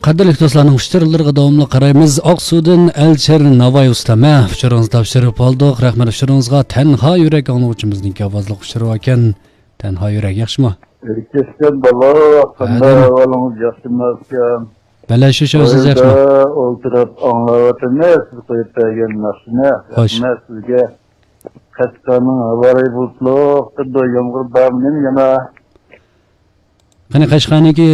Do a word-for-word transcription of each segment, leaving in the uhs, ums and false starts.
قەدىرلىك دوستلارنىڭ ئۇچۇرلىرىغا داۋاملىق قارايمىز. ئاقسۇدىن ئەلچىر ناۋاي ئۇستام، ھە، ئۇچۇرىڭىزنى تاپشۇرۇپ ئالدۇق. رەھمەت ئۇچۇرىڭىزغا. تەنھا يۈرەك ئاڭلىغۇچىمىزنىڭكى ئاۋازلىق ئۇچۇرى باركەن. تەنھا يۈرەك ياخشىمۇ؟ ئەركەشكەن بالا، قانداق ئەدەم. ئەھۋالىڭىز، ياخشىمۇ ئۇكام؟ بەلە شۇ، شۇ، سىز ياخشىمۇ؟ قويدا ئولتۇرۇپ ئاڭلاۋاتىمىز، سىز قويۇپ بەرگەن ناخشىنى. خوش. رەھمەت سىزگە. قەشقەرنىڭ ھاۋا رايى بۇلۇتلۇق، بىر يامغۇر بارمۇ يەنە؟ قېنى، قەشقەرنىڭكى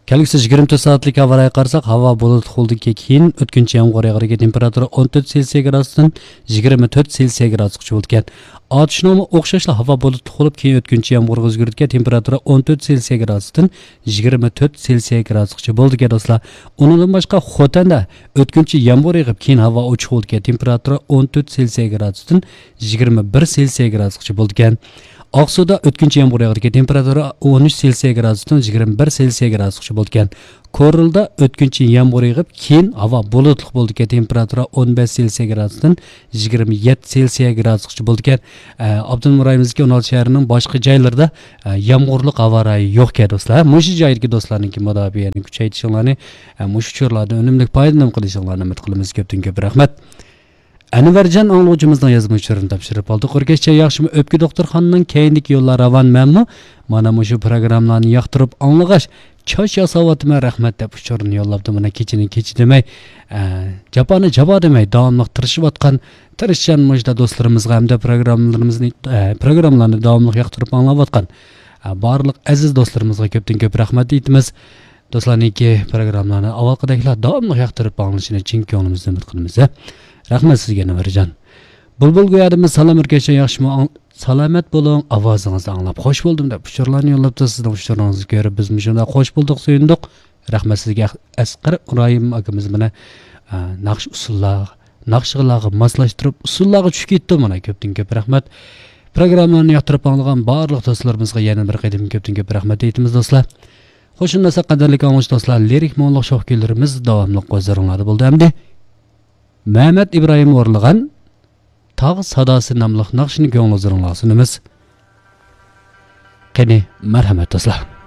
كەلگۈسى يىگىرمە تۆت سائەتلىك ھاۋا رايىغا قارىساق، ھاۋا بۇلۇتلۇق بولىدىكەن، كېيىن ئۆتكۈنچى يامغۇر ياغىدىكەن، تېمپېراتۇرا ئون تۆت سېلسىيە گرادۇستىن يىگىرمە تۆت سېلسىيە گرادۇسقىچە بولىدىكەن. ئاتۇشنىڭمۇ ئوخشاشلا ھاۋا بۇلۇتلۇق بولۇپ، كېيىن ئۆتكۈنچى يامغۇرغا ئۆزگىرىدىكەن، تېمپېراتۇرا ئون تۆت سېلسىيە گرادۇستىن يىگىرمە تۆت سېلسىيە گرادۇسقىچە بولىدىكەن، دوستلار. ئۇنىڭدىن باشقا، خوتەندە ئۆتكۈنچى يامغۇر يېغىپ، كېيىن ھاۋا ئوچۇق بولىدىكەن، تېمپېراتۇرا ئون تۆت سېلسىيە گرادۇستىن يىگىرمە بىر سېلسىيە گرادۇسقىچە بولىدىكەن. ئاقسۇدا ئۆتكۈنچى يامغۇر ياغىدىكەن، تېمپېراتۇرا ئون ئۈچ سېلسىيە گرادۇستىن يىگىرمە بىر سېلسىيە گرادۇسقىچە بولىدىكەن. كورلىدا ئۆتكۈنچى يامغۇر يېغىپ، كېيىن ھاۋا بۇلۇتلۇق بولىدىكەن، تېمپېراتۇرا ئون بەش سېلسىيە گرادۇستىن يىگىرمە يەتتە سېلسىيە گرادۇسقىچە بولىدىكەن. ئە، ئاپتونوم رايونىمىزدىكى ئون ئالتە شەھەرنىڭ باشقا جايلىرىدا، ئە، يامغۇرلۇق ھاۋا رايى يوقكەن، دوستلار. مۇشۇ جايدىكى دوستلارنىڭكى مۇداپىئەنى كۈچەيتىشىڭلارنى، ئە، مۇشۇ ئۇچۇرلاردىن ئۈنۈملۈك پايدىلىنىپ قېلىشىڭلارنى ئۈمىد قىلىمىز. كۆپتىن كۆپ رەھمەت. ئەنۋەرجان ئاڭلىغۇچىمىزنىڭ يازما ئۇچۇرىنى تاپشۇرۇپ ئالدۇق. ئۆركەشچە ياخشىمۇ؟ ئۆپكە دوختۇرخانىنىڭ كەينىدىكى يوللار راۋان مەنمۇ؟ مانا مۇشۇ پروگراممىلارنى ياقتۇرۇپ ئاڭلىغاچ، چاچ ياساۋاتىمەن، رەھمەت، دەپ ئۇچۇرنى يوللاپتۇ. مانا كېچىنى كېچە دېمەي، ئە، جاپانى جاپا دېمەي، داۋاملىق تىرىشىۋاتقان، تىرىشچان مۇشۇنداق دوستلىرىمىزغا ھەمدە پروگراممىلىرىمىزنى، ئە، پروگراممىلارنى داۋاملىق ياقتۇرۇپ ئاڭلاۋاتقان، ئە، بارلىق ئەزىز دوستلىرىمىزغا كۆپتىن كۆپ رەھمەت ئېيتىمىز. دوستلارنىڭكى پروگراممىلارنى ئاۋۋالقىدەكلا داۋاملىق ياقتۇرۇپ ئاڭلىشىنى چىن كۆڭلىمىزدىن ئۈمىد قىلىمىز. رەھمەت سىزگە، ئەنۋەرجان. بۇلبۇل گويادىمىز، سالام ئۆركەشچە، ياخشىمۇ؟ ئاڭ-، سالامەت بولۇڭ، ئاۋازىڭىزنى ئاڭلاپ خوش بولدۇم، دەپ ئۇچۇرلارنى يوللاپتۇ. سىزنىڭ ئۇچۇرىڭىزنى كۆرۈپ بىزمۇ شۇنداق خوش بولدۇق، سۆيۈندۇق. رەھمەت سىزگە، ئەسقەر ئىبراھىم ئاكىمىز مانا، ئە، ناخشا ئۇسسۇللار، ناخشىلارغا ماسلاشتۇرۇپ، ئۇسسۇللارغا چۈشۈپ كېتىپتۇ. مانا كۆپتىن كۆپ رەھمەت. پروگراممىلارنى ياقتۇرۇپ ئاڭلىغان بارلىق دوستلىرىمىزغا يەنە بىر قېتىم كۆپتىن كۆپ رەھمەت ئېيتىمىز، دوستلار. خوش، شۇنداق قەدىرلىك ئاڭلىغۇچى دوستلار، لىرىك مۇڭلۇق شوخ كۈيلىرىمىز داۋاملىق ھۇزۇرۇڭلاردا بولدى. ئەمدى مەمەت ئىبراھىم ئورۇنلىغان تاغ ساداسى ناملىق ناخشىنى كۆڭۈل ھۇزۇرۇڭلارغا سۇنىمىز. قېنى، مەرھەمەت، دوستلار.